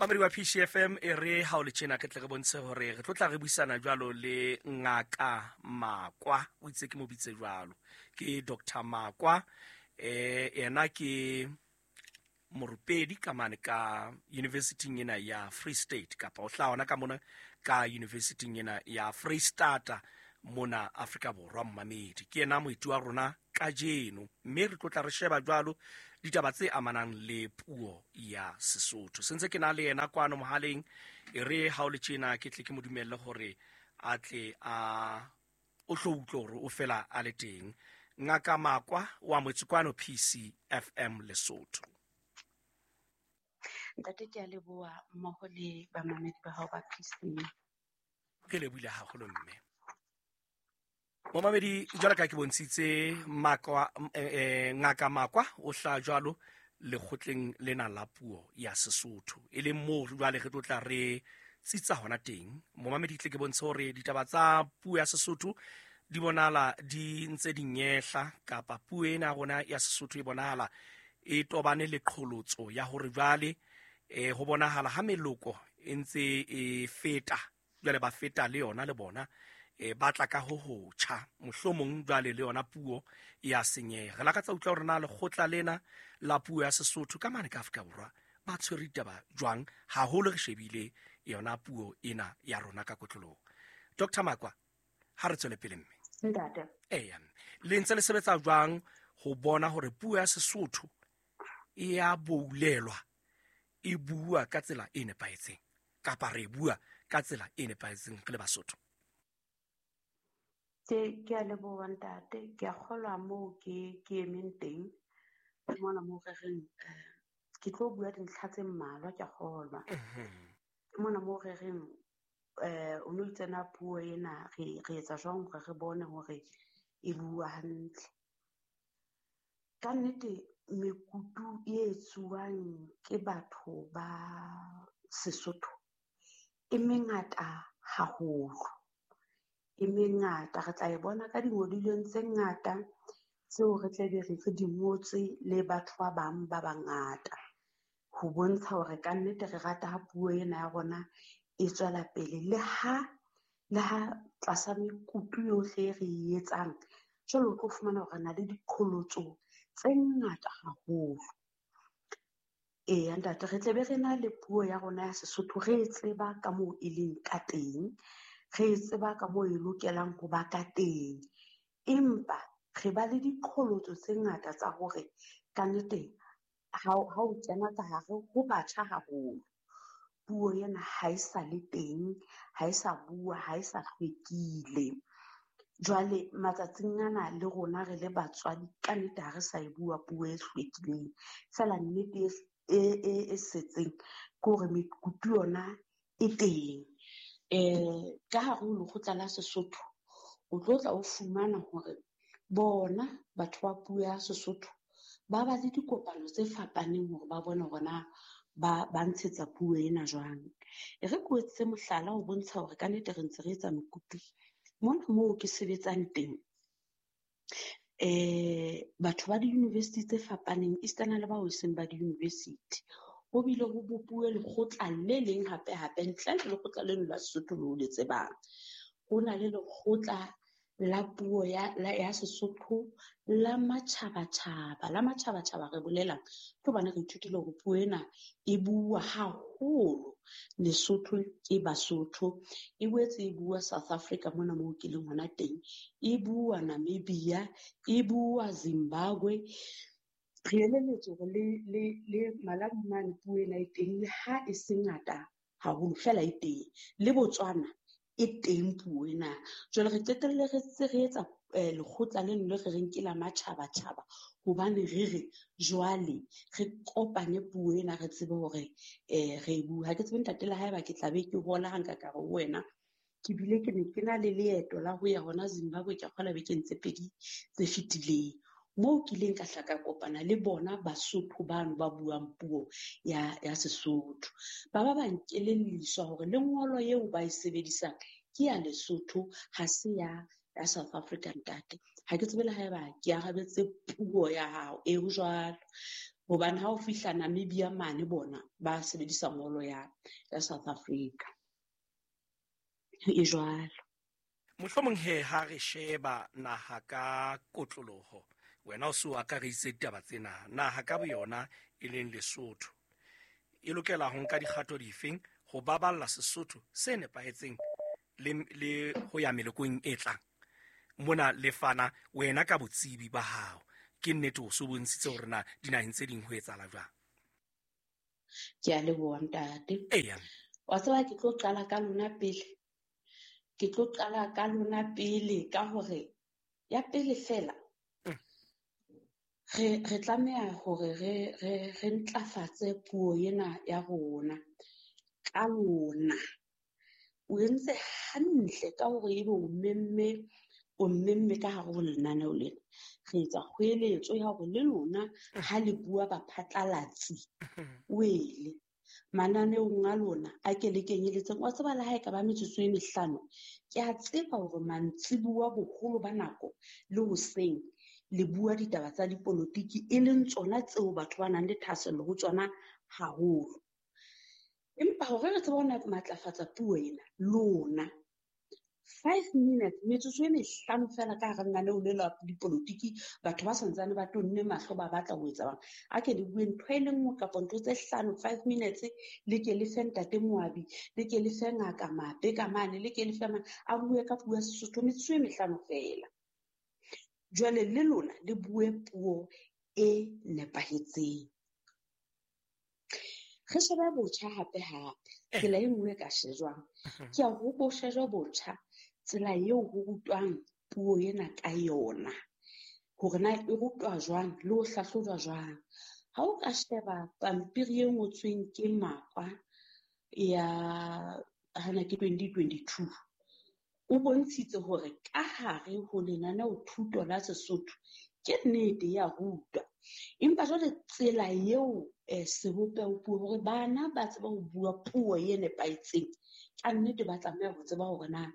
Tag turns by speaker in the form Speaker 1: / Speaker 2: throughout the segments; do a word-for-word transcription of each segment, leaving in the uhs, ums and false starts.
Speaker 1: Mamedi wa P C F M, e re ha o le tjena ke tle re bontshe hore re tlo tla re buisana jwalo le Ngaka Makwa. O itse ke mo bitse jwalo. Ke Doctor Makwa. Eh, yena ke morupedi ka mane ka university ena ya Free State, kapa o hlaha hona ka mona ka university ena ya Free State mona Afrika Borwa. Mmamedi ke yena moeti wa rona kajeno, mme re tlo tla re sheba jwalo ditaba tse amanang le puo ya Sesotho. Sentse ke na le yena kwano mohaleng, e re ha o le tjena ke tle ke mo dumelle hore a tle a o tlo utlwe hore o fela a le teng. Ngaka Makwa wa motse kwano P C F M Lesotho.
Speaker 2: Ntate, ke a leboha mmoho le bamamedi ba hao ba P C.
Speaker 1: Ke lebohile haholo mme. Momamedi, jwalo ka ke bontshitse Makwa, eh, eh, Ngaka Makwa o hlaha jwalo lekgotleng lena la puo ya Sesotho, e leng moo jwale re tlo tla re tsitsa hona teng. Momamedi, tle ke bontshe hore ditaba tsa puo ya Sesotho di bonahala di ntse di nyehla, kapa puo ena ya rona ya Sesotho e bonahala e tobane le qholotso ya hore jwale, eh, ho bonahala ha meloko e ntse e feta, jwale ba feta le yona le bona, eh, ba tla ka ho hotjha, mohlomong jwale le yona puo ya senyeha. Re lakatsa utlwa hore na lekgotla lena la puo ya Sesotho ka mane ka Afrika Borwa ba tshwere ditaba jwang, haholo re shebile yona puo ena ya rona ka kotloloho. Doctor Makwa, ha re tswele pele mme.
Speaker 2: Ntate.
Speaker 1: Eya, le ntse le sebetsa jwang ho bona hore puo ya Sesotho e ya boulelwa, e bua ka tsela e nepahetseng, kapa re bua ka tsela e nepahetseng re le Basotho?
Speaker 2: Ke, ke a leboha ntate, ke a kgolwa moo ke, ke emeng teng. Ke mona moo re reng, eh, ke tlo bua dintlha tse mmalwa, ke a kgolwa.
Speaker 1: Mhm.
Speaker 2: Ke mona moo re reng, eh, o no itse na puo ena re, re etsa jwang hore re bone hore e bua hantle. Ka nnete mekutu e etsuwang ke batho ba Sesotho e mengata haholo. E mengata, re tla e bona ka dingodilweng tse ngata tseo re tla be re re di ngotse le batho ba bang ba bangata, ho bontsha hore ka nnete re rata ha puo ena ya rona e tswela pele. Le ha, le ha tlasa mekutu yohle e re e etsang, jwale o tlo fumana hore re na le diqholotso tse ngata haholo. Eya ntate, re tle be re na le puo ya rona ya Sesotho, re e tseba ka moo e leng ka teng, re e tseba ka moo e lokelang ho ba ka teng, empa re ba le diqholotso tse ngata tsa hore ka nnete ha o, ha o kena ka hare ho batjha haholo, puo ena ha e sa le teng, ha e sa bua, ha e sa hlwekile. Jwale matsatsing ana le rona re le batswadi ka nnete ha re sa e bua puo e hlwekileng. Feela nnete e, e, e setseng ke hore mekutu yona e teng. Eh, ka hare ho lekgotla la Sesotho o tlo tla o fumana hore bona batho ba puo ya Sesotho ba ba le dikopano tse fapaneng hore ba bone hore na ba, ba ntshetsa puo ena jwang. E re ke o etsetse mohlala ho bontsha hore ka nnete re ntse re etsa mekutu. Mona moo ke sebetsang teng, eh, batho ba di-university tse fapaneng, esitana le bao e seng ba di-university, ho bile ho bopuwe lekgotla le leng hape hape, ntle le lekgotla leno la Sesotho leo le tsebang. Ho na le lekgotla la puo ya, la, ya Sesotho la matjhabatjhaba. La matjhabatjhaba re bolelang ke hobane re ithutile hore puo ena e bua haholo Lesotho ke Basotho, e boetse e bua South Africa mona moo ke leng hona teng, e bua Namibia, e bua Zimbabwe. Re elelletswe hore le, le, le Malawi mane puo ena e teng, le ha e se ngata haholo fela e teng. Le Botswana e teng puo ena. Jwale re qetelle re se re etsa, eh, lekgotla leno le re reng ke la matjhabatjhaba, hobane re re jwale re kopanye puo ena re tsebe hore, eh, re e bua. Ha ke tsebe ntate le haeba ke tla be ke hola ha nka ka re ho wena. Ke bile ke ne ke na le leeto la ho ya hona Zimbabwe, ke a kgolwa bekeng tse pedi tse fetileng, moo ke ileng ka hla ka kopana le bona Basotho bano ba buang puo ya, ya Sesotho. Ba ba ba nkelelliswa hore lengolo eo ba e sebedisang ke ya Lesotho, ha se ya, ya South Africa ntate. Ha ke tsebe le haeba ke arabetse puo ya hao, e ho jwalo. Hobane ha o fihla Namibia mane bona ba sebedisa ngolo ya ya South Africa. E jwalo.
Speaker 1: Mohlomong he ha re sheba naha ka kotloloho, wena o so akareditse ditaba tsena, naha ka boyona e leng Lesotho e lokela ho nka dikgato difeng ho baballa Sesotho se nepahetseng le, le ho ya melokong e tlang? Mona le fana wena ka botsebi ba hao, ke nnete o so bontshitse hore na dinaheng tse ding ho etsahala jwang?
Speaker 2: Ke a leboha ntate.
Speaker 1: Eya.
Speaker 2: Wa tseba ke tlo qala ka lona pele. Ke tlo qala ka lona pele ka hore ya pele fela re re tlameha hore re re re ntlafatse puo ena ya rona ka lona. O entse hantle ka hore ebe o memme, o mmemme ka hare ho lenaneo lena. Re etsa kgoeletso ya hore le lona ha le bua baphatlalatsi wele mananeong a lona a ke le kenyeletseng. Wa tseba le ha e ka ba metsotso e mehlano, ke a tseba hore mantsibuwa boholo ba nako le hoseng le bua ditaba tsa dipolotiki, e leng tsona tseo batho ba nang le thahasello ho tsona haholo. Empa hore re tsebe ho matlafatsa puo ena, lona five minutes, metsotso e mehlano fela ka hara lenaneo le la dipolotiki, batho ba santsane ba tonne mahlo ba batla ho etsa bang. A ke le bue ntho e le nngwe kapa ntho tse hlano, five minutes, le ke le fe ntate Moabi, le ke le fe ngaka Mape ka mane, le ke le fe mane, a bue ka puo ya Sesotho metsotso e mehlano fela. Jwale le lona le bue puo e nepahetseng. Re shebe botjha hape hape. Tsela e nngwe e ka shejwang ke ya ho bo shejwa botjha, tsela eo ho rutwang puo ena ka yona, hore na e rutwa jwang le ho hlahlojwa jwang. Ha o ka sheba pampiri e ngotsweng ke Makwa ya hana ke twenty twenty-two, o bontshitse hore ka hare ho lenaneo thuto la Sesotho ke nnete ya rutwa, empa jwale tsela eo eh, sebopeho puo hore bana ba tsebe ho bua puo e nepahetseng, ka nnete ba tlameha ho tseba hore na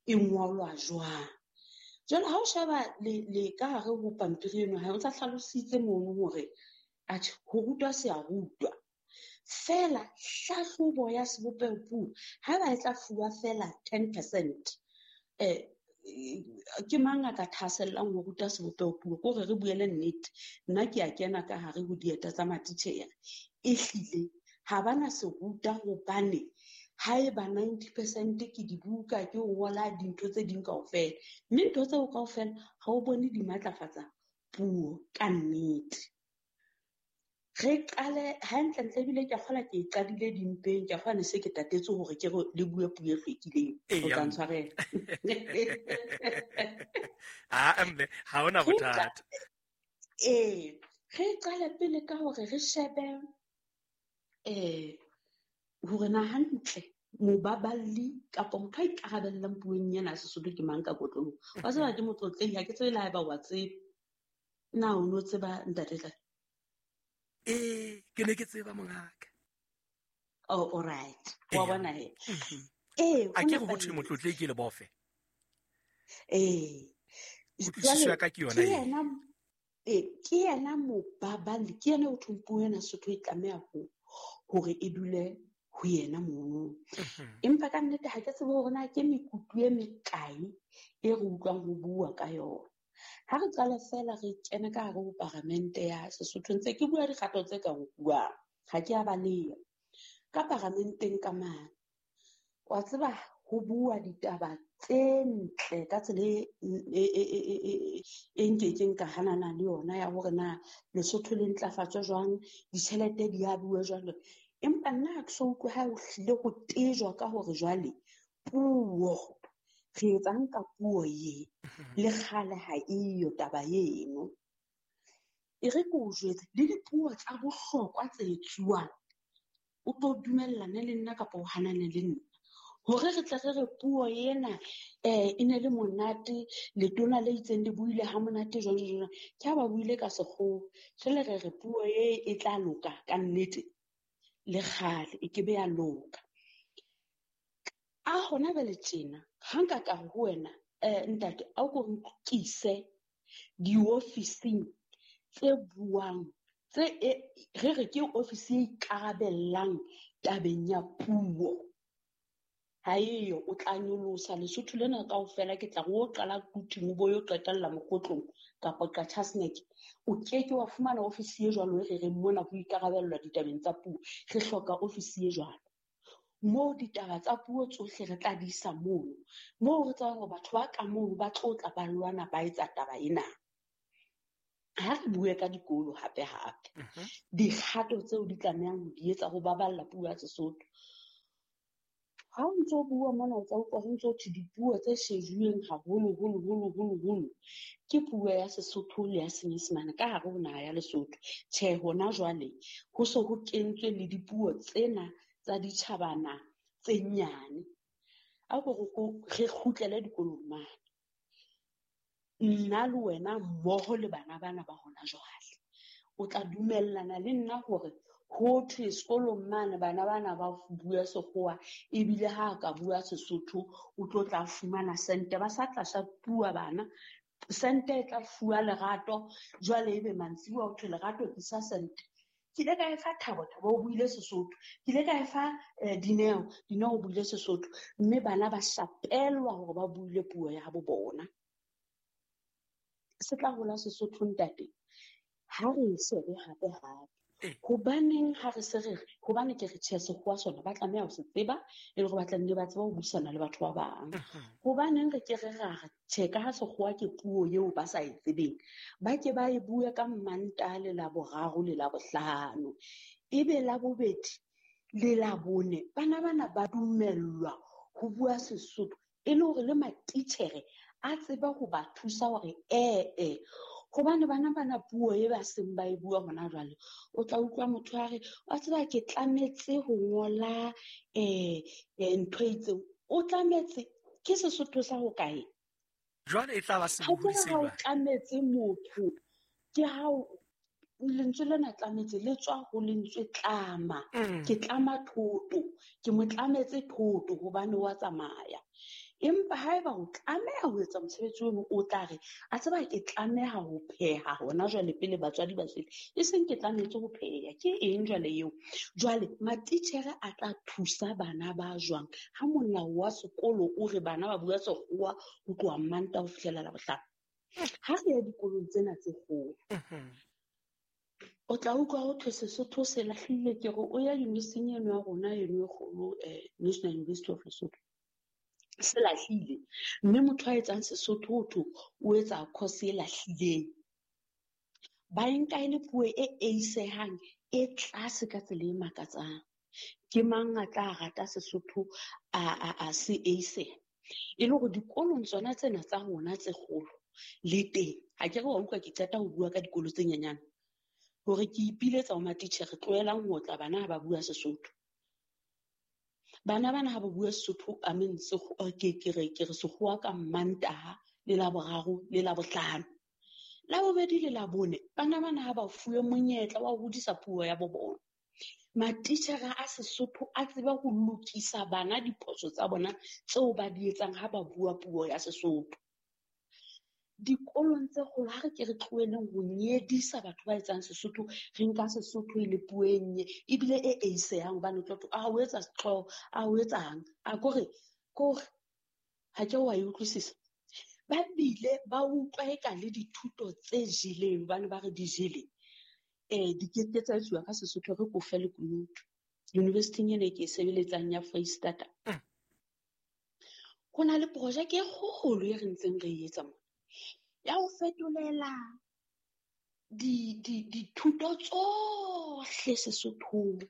Speaker 2: e ngolwa jwang. Jwale ha o sheba le, le ka hare ho pampiri eno, ha o ntsa hlalositse mono hore atjhe ho rutwa se a rutwa fela, hlahlobo ya sebopeho puo ha ba e tla fuwa fela ten percent, eh, ke mang a ka thahasellang ho ruta sebopeho puo? Ke hore re bue le nnete, nna ke a kena ka hare ho dieta tsa matitjhere, ehlile ha bana se ruta hobane haeba ninety percent ke dibuka, ke ho ngola dintho tse ding kaofela, mme ntho tseo kaofela ha o bone di matlafatsa puo ka nnete. Re qale hantlentle, ebile ke a kgolwa ke e qadile dimpeng, ke a kgolwa ne se ke tatetse hore ke re le bue puo e hlwekileng. O tla ntshwarela.
Speaker 1: Ah, mme, ha hona bothata.
Speaker 2: Ee, re qale pele ka hore re shebe eh hore na hantle mobaballi kapa motho a ikarabellang puong ena ya Sesotho ke mang ka kotloloho. Wa tseba ke motlotlehi, ha ke tsebe le haeba wa tseba. Na o no tseba ntate Tla?
Speaker 1: Ee, ke ne ke tseba mongaka.
Speaker 2: Oh, all right. Wa bona he.
Speaker 1: Ee, a ke re ho thwe motlotlehi ke lebofe.
Speaker 2: Ee.
Speaker 1: Kutlwisiso ya ka ke yona
Speaker 2: eo. Ee, ke yena mobaballi, ke yena o thong puo ena Sesotho e tlameha ho hore e dule ho yena mono. Empa ka nnete ha ke tsebe hore na ke mekutu e mekae e re utlwang ho bua ka yona. Ha re qala fela re kene ka hare ho paramente ya Sesotho, ntse ke bua dikgato tse ka nkuwang, ha ke a baleha. Ka paramenteng ka mane, wa tseba ho bua ditaba tse ntle ka tsela e, e, e, e, e, e nkekeng ka hanana le yona ya hore na Lesotho le ntlafatswe jwang, ditjhelete di a bua jwang. Empa nna ha ke so utlwe ha ho hlile ho tejwa ka hore jwale puo, re etsang ka puo ye, le kgale ha eyo taba eno. E re ke o jwetse, le dipuo tsa bohlokwa tse etsuwang, o tlo dumellane le nna kapa o hanane le nna. Hore re tle re re puo ena eh e ne le monate, letona le itseng le buile ha monate jwang jwang jwang, ke ha ba buile ka sekgowa. Jwale re re puo e e tla loka ka nnete, le kgale e ke be ya loka. A hona jwale tjena, ha nka ka re ho wena, eh ntate, a o ko nkise diofising tse buang Tse re re ke ofisi e ikarabellang tabeng ya puo. Ha eyo, o tla nyolosa Lesotho lena kaofela, ke tla re o qala Quthing o bo yo qetella Mokhotlong kapa Qacha's Nek. O keke wa fumana ofisi e jwalo e re reng mona ho ikarabellwa ditabeng tsa puo. Re hloka ofisi e jwalo. Moo ditaba tsa puo tsohle re tla di isa mono. Moo re tsebang hore batho ba ka mono ba tlo tla ba lwana ba etsa taba ena. Ha re bue ka dikolo hape hape. Dikgato tseo di tlamehang ho di etsa ho baballa puo ya Sesotho. Ha o ntso bua mona o tla utlwa ho ntso thwe dipuo tse shejuweng haholo holo holo holo holo ke puo ya Sesotho le ya Senyesemane ka hare ho naha ya Lesotho. Tjhe, hona jwale ho so ho kentswe le dipuo tsena tsa ditjhabana tse nyane. A ko re kgutlele dikolong mane. Nna le wena mmoho le bana bana ba hona jwale. O tla dumellana le nna hore ho thwe sekolong mane bana bana ba bua sekgowa ebile ha ka bua Sesotho o tlo tla fumana sente. Ba sa tla shapuwa bana, sente e tla fuwa Lerato. Jwale ebe mantsibuya ho thwe Lerato tlisa sente. Ke ile ka e fa Thabo, Thabo o buile Sesotho. Ke ile ka e fa Dineo, Dineo o buile Sesotho. Mme bana ba shapelwa hore ba buile puo ya habo bona. Se tla hola Sesotho ntate. Ha re shebe hape hape. Hobaneng ha re se re re, hobane ke re tjhe sekgowa sona ba tlameha ho se tseba e le hore ba tla nne ba tsebe ho buisana le batho ba bang. Hobaneng re ke re ra re tjhe ka ha sekgowa ke puo eo ba sa e tsebeng, ba ke ba e bue ka Mantaha le Laboraro le Labohlano, ebe Labobedi le Labone bana bana ba dumellwa ho bua Sesotho e le hore le matitjhere a tsebe ho ba thusa hore ee. Hobane bana bana puo e ba seng ba e bua hona jwale, o tla utlwa motho a re wa tseba ke tlametse ho ngola eh ntho e itseng. O tlametse ke Sesotho sa ho kae?
Speaker 1: Jwale e tla ba sebohodi se
Speaker 2: jwang? Ha o tlametse motho ke ha lentswe lena tlametse le tswa ho lentswe tlama. Ke tlama thoto, ke mo tlametse thoto hobane wa tsamaya. Empa haeba o tlameha ho etsa mosebetsi ono, o tla re a tseba ke tlameha ho pheha hona jwale pele batswadi ba sele, e seng ke tlametse ho pheha. Ke eng jwale eo? Jwale matitjhere a tla thusa bana ba jwang ha molao wa sekolo o re bana ba bua sekgowa ho tloha Mantaha ho fihlela Labohlano? Ha re ya dikolong tsena tse kgolo, o tla utlwa ho thwe Sesotho se lahlile. Ke re o ya university eno ya rona eno e kgolo, National University of Lesotho, se lahlile. Mme motho a etsang Sesotho ho thwe o etsa course e lahlileng. Ba e nka e le puo e eisehang e tlase ka tsela e makatsang. Ke mang a tla rata Sesotho a a a se eiseha? E le hore dikolong tsona tsena tsa rona tse kgolo le teng. Ha ke re wa utlwa ke qeta ho bua ka dikolo tse nyenyane hore ke ipiletsa ho matitjhere, tlohelang ho otla bana ha ba bua Sesotho. Bana bana ha ba bua Sesotho, I mean, ke ke re ke re sekgowa ka Mantaha le Laboraro le Labohlano. Labobedi le Labone, bana bana ha ba fuwe monyetla wa ho hodisa puo ya bo bona. Matitjhere a Sesotho a tsebe ho lokisa bana diphoso tsa bona tseo ba di etsang ha ba bua puo ya Sesotho. Dikolong tse kgolo ha re ke re tloheleng ho nyedisa batho ba etsang Sesotho, re nka Sesotho e le puo e nnye ebile e eisehang hobane o tlo thwe, a o etsa setlhogo, a o etsang, a kore kore ha ke wa e utlwisisa. Ba bile ba utlwa eka le dithuto tse jeleng hobane ba re di jele, eh di ke ke tsa etsuwa ka Sesotho. Re kofe lekunutu university-ing ena e ke e sebeletsang ya Freistata, ho na le projeke e kgolo e re ntseng re e etsa mona ya ho fetolela di di dithuto tsohle Sesothong,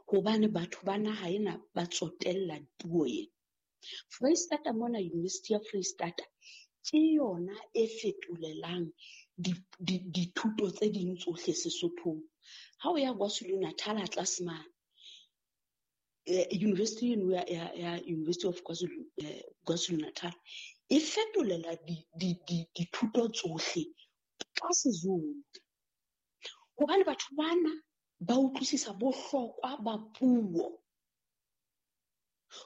Speaker 2: hobane batho ba naha ena ba tsotella puo ena. Freistata mona, University ya Freistata ke yona e fetolelang dithuto tse ding tsohle Sesothong. Ha o ya KwaZulu-Natal tlase mane, university eno ya ya University of KwaZulu KwaZulu-Natal e fetolela dithuto tsohle ka Sezulu, hobane batho bana ba utlwisisa bohlokwa ba puo.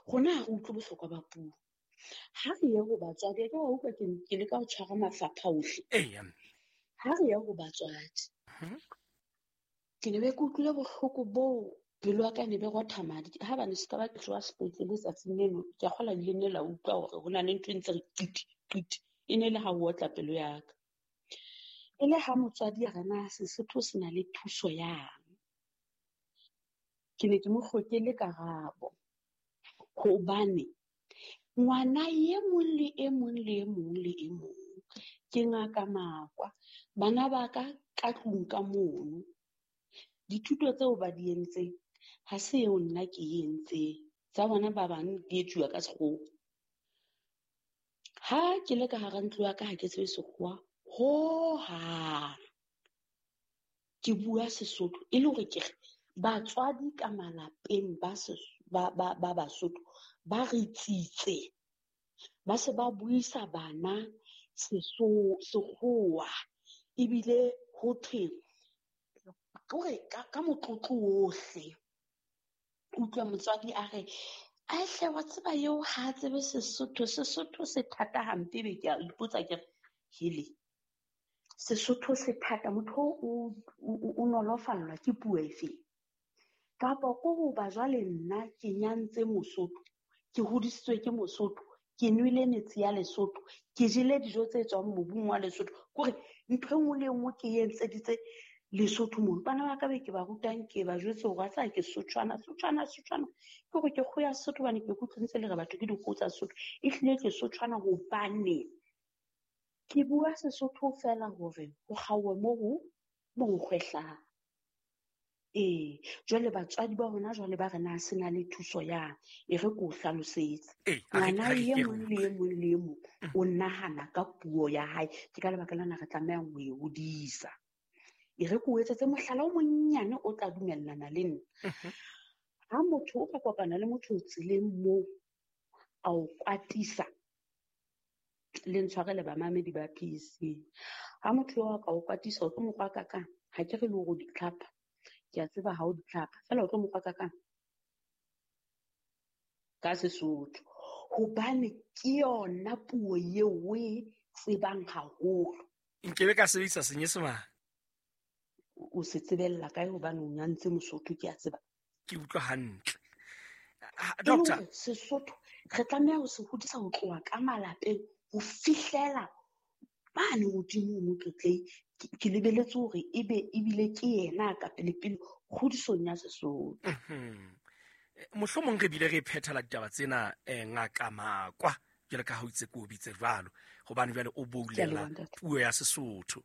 Speaker 2: Rona ha re utlwe bohlokwa ba puo. Ha re ye ho batswadi, ke wa utlwa ke leka ho tshwara mafapha ohle. Ha re ye ho batswadi, Ke ne be ke utlwile bohloko boo, pelo ya ka ne be rotha madi. Ha ba ne se ka ba ke tloha sepetlele tsatsing leno, ke a kgolwa le ne la utlwa hore ho na le ntho e ntse re qiti qiti. E ne le ha o otla pelo ya ka. E le ha motswadi a re na Sesotho se na le thuso yang. Ke ne ke mo hlokele karabo. Hobane ngwana e mong le e mong le e mong le e mong ke Ngaka Makwa. Bana ba ka ka tlung ka mono, dithuto tseo ba di entseng ha se eo nna ke e entseng. Tsa bona ba bang di etsuwa ka sekgowa. Ha ke le ka hara ntlo ya ka ha ke tsebe sekgowa hohang. Ke bua Sesotho e le hore ke re batswadi ka malapeng ba ba ba ba Basotho ba re tsitse, ba se ba buisa bana seso sekgowa, ebile ho thwe kore ka, ka motlotlo ohle. Utlwa motswadi a re, "Ai hle, wa tseba eo ha a tsebe Sesotho, Sesotho se thata hampe." Be ke a ipotsa ke re, hele, Sesotho se thata, motho o, o, o nolofallwa ke puo efe? Kapa ko hoba jwale nna ke nyantse Mosotho, ke hodisitswe ke Mosotho, ke nwele metsi ya Lesotho, ke jele dijo tse tswang mobung wa Lesotho. Kore ntho e nngwe le e nngwe ke e entseditse Lesotho mono. Bana ba ka be ke ba rutang, ke ba jwetse hore wa tseba ke Sotshwana, Sotshwana, Sotshwana. Ke hore ke kgoho ya Sesotho hobane ke utlwe ntse le re batho ke dikgoho tsa Sesotho. Ehlile ke Sotshwana hobane ke bua Sesotho feela hore ho kgaowe moo ho, moo ho kgwehlang. Ee, jwale batswadi ba rona jwale ba re na se na le thuso yang, e re ke o hlalosetse.
Speaker 1: Ee, a re-
Speaker 2: Ngwana
Speaker 1: ha re
Speaker 2: e
Speaker 1: ke re
Speaker 2: mong le e mong le e mong
Speaker 1: Mm.
Speaker 2: o nahana ka puo ya hae. Ke ka lebaka lena re tlamehang ho e hodisa. E re ke o etsetse mohlala o monnyane o tla dumellana le nna.
Speaker 1: Mhm.
Speaker 2: Ha motho o ka kopana le motho tseleng moo, a o kwatisa, le ntshwarele bamamedi ba P C. Ha motho eo a ka o kwatisa, o tlo mo kwaka kang? Ha ke re le hore o di tlhapa. Ke a tseba ha o di tlhapa, feela o tlo mo kwaka kang? Ka Sesotho. Hobane ke yona puo eo o e tsebang haholo.
Speaker 1: Nkebe ka sebedisa Senyesemane.
Speaker 2: O se tsebella kae hobane o nyantse Mosotho, ke a tseba.
Speaker 1: Ke utlwa hantle. Ha,
Speaker 2: E le
Speaker 1: doctor.
Speaker 2: hore Sesotho re tlameha ho se hodisa ho tloha ka malapeng ho fihlela mane hodimo ho Motlotlei. Ke, ke lebeletse hore ebe ebile ke yena ka pele-pele kgodisong ya Sesotho.
Speaker 1: Mhm. Mohlomong re bile re phethela ditaba tsena, eh, Ngaka Makwa, jwalo ka ha o itse ke o bitse jwalo, hobane jwale o
Speaker 2: Ke a
Speaker 1: boulela
Speaker 2: leboha, ntate.
Speaker 1: puo ya Sesotho.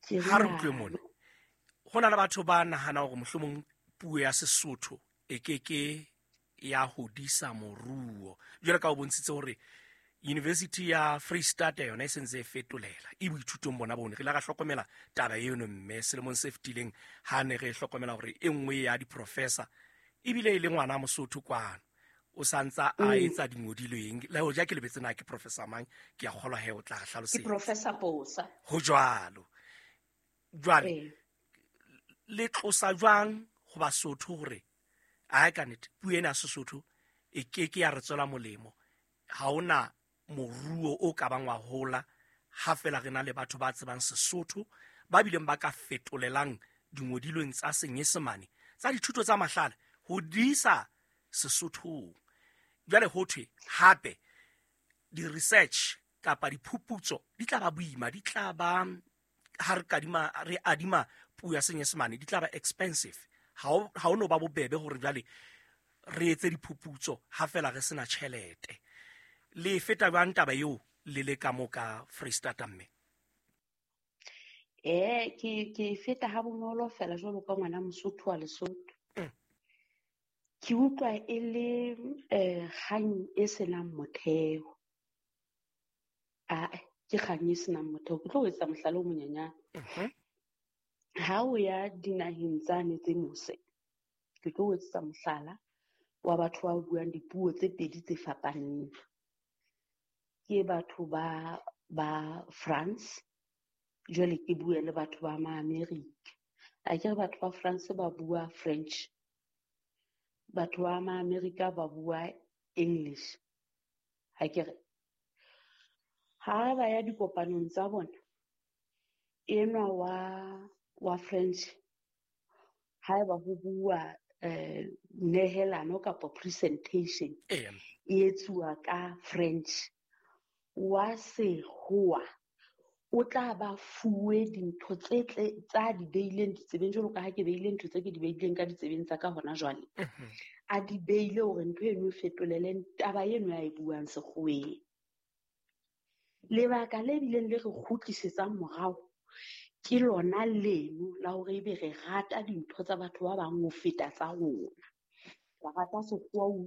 Speaker 2: Ke
Speaker 1: Ha re utlwe
Speaker 2: rialo.
Speaker 1: mona, ho na le batho ba nahana hore mohlomong puo ya Sesotho e ke ke ya hodisa moruo. Jwalo ka o bontshitse hore University ya Freistata yona e sentse e fetolela, e boithutong bona bone. Re ile ra hlokomela taba eno mme selemong se fetileng ha ne re hlokomela hore e nngwe ya di-professor ebile e le ngwana Mosotho kwano, o santsa a
Speaker 2: Mm.
Speaker 1: etsa dingodilweng. Le hoja ke lebetse na ke professor mang, ke a kgolwa he o tla re
Speaker 2: Ke
Speaker 1: hlalosetsa.
Speaker 2: Professor Bosa.
Speaker 1: Ho jwalo. Jwale,
Speaker 2: Ee.
Speaker 1: le tlosa jwang ho Basotho hore ae ka nnete puo ena ya Sesotho e ke ke ya re tswela molemo? Ha hona moruo o ka bang wa hola ha fela re na le batho ba tsebang Sesotho ba bileng ba ka fetolelang dingodilweng tsa Senyesemane tsa dithuto tsa mahlale ho di isa Sesothong. Jwale ho thwe hape di-research kapa diphuputso di tla ba boima, di tla ba ha re kadima, re adima puo ya Senyesemane, di tla ba expensive. Ha o, ha o no ba bobebe hore jwale re etse diphuputso ha fela re sena tjhelete. Le feta jwang taba eo le le ka mo ka Freistata mme?
Speaker 2: Eh, ke, ke feta ha bonolo fela jwalo ka ngwana Mosotho wa Lesotho.
Speaker 1: Mm.
Speaker 2: Ke utlwa e le, eh, kgang e senang motheo. Ah, ke kgang e senang motheo. Ke tlo o etsa mohlala o monyenyane.
Speaker 1: Mhm.
Speaker 2: Ha o ya dinaheng tsane tse mose, ke tlo o etsetsa mohlala wa batho ba buang dipuo tse pedi tse fapaneng. Ke batho ba, ba France, jwale ke bue le batho ba ma-Amerika. Akere batho ba France ba bua French, batho ba ma-Amerika ba bua English. Akere ha ba ya dikopanong tsa bona, enwa wa, wa French Haeba ho bua eh nehelano kapa presentation
Speaker 1: Eya.
Speaker 2: e etsuwa ka French, wa sekgowa o tla ba fuwe dintho tse tle tsa di beileng ditsebeng, jwalo ka ha ke beile ntho tse ke di beileng ka ditsebeng tsa ka hona jwale.
Speaker 1: Mhm.
Speaker 2: A di beile hore ntho eno e fetolele taba eno ya e buang sekgoweng. Lebaka le bileng le re kgutlisetsang morao ke lona leno la hore ebe re rata dintho tsa batho ba bang ho feta tsa rona. Re rata sekgowa.